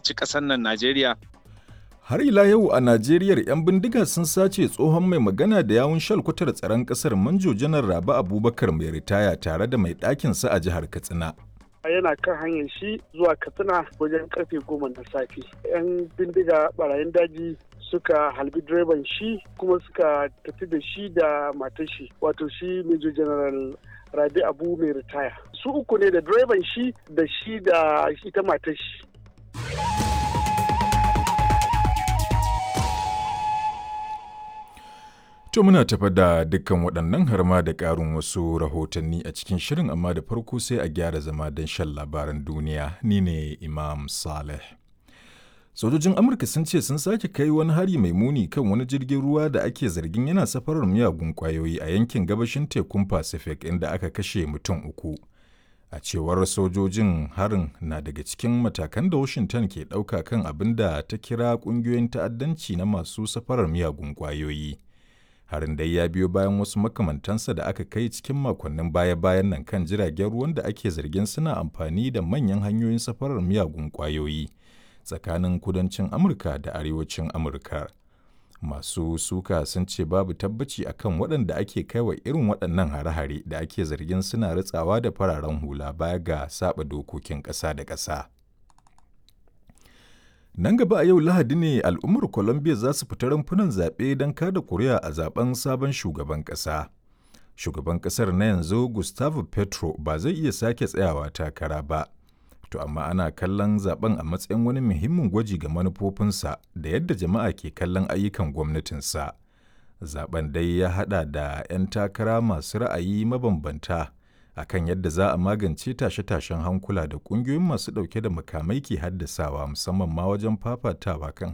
ci ƙasar nan Najeriya. Har ila yau a Najeriya, 'yan bindiga sun sace tsohon mai magana da yawun shalkwatar tsaron kasar, Manjo Janar Rabi Abubakar mai ritaya, tare da mai ɗakinsa a jihar Katsina. Yana kan hanyar shi zuwa Katsina wajen karfe 10 na safe, 'yan bindiga barayin daji suka halbi direban shi kuma suka tafi da shi da matar shi, wato shi Major General Rabi Abu mai ritaya. Su uku ne, da direban shi da shi da ita matar shi. To, muna tafa da dukkan waɗannan har ma da ƙarin wasu rahotanni a cikin shirin, amma da farko sai a gyara zama don shan labaran duniya. Ni ne Imam Saleh. Sojojin Amurka sun ce sun sake kai wani hari mai muni kan wani jirgin ruwa da ake zargin yana safarar miyagun ƙwayoyi a yankin gabashin tekun Pacific, inda aka kashe mutum 3. A cewar sojojin, harin na daga cikin matakan da Washington ke ɗauka kan abin da ta kira ƙungiyoyin ta'addanci na masu safarar miyagun ƙwayoyi. Harin dai ya biyo bayan wasu makamantansa da aka kai cikin makonnin baya-bayan nan kan jiragen ruwan da ake zargin suna amfani da manyan hanyoyin safarar miyagun ƙwayoyi tsakanin kudancin Amurka da arewacin Amurka. Masu suka sun ce babu tabbaci akan waɗanda ake kaiwa irin waɗannan hare-hare da ake zargin suna ritsawa da fararen hula baya ga saba dokokin ƙasa da ƙasa. Nan gaba a yau Lahadi ne al'ummar Colombia za su fita rumfunan zaɓe don kada kuri'a a zaben sabon shugaban ƙasa. Shugaban ƙasar na yanzu, Gustavo Petro, ba zai iya sake tsayawa takara ba. To amma ana kallon zaben a matsayin wani muhimmin gwaji ga manufofinsa da yadda jama'a ke kallon ayyukan gwamnatinsa. Zaben dai ya haɗa da 'yan takara masu ra'ayi mabambanta akan yadda za a magance tashe-tashen hankula da ƙungiyoyin masu ɗauke da makamai ke haddasawa, musamman ma wajen fafatawa kan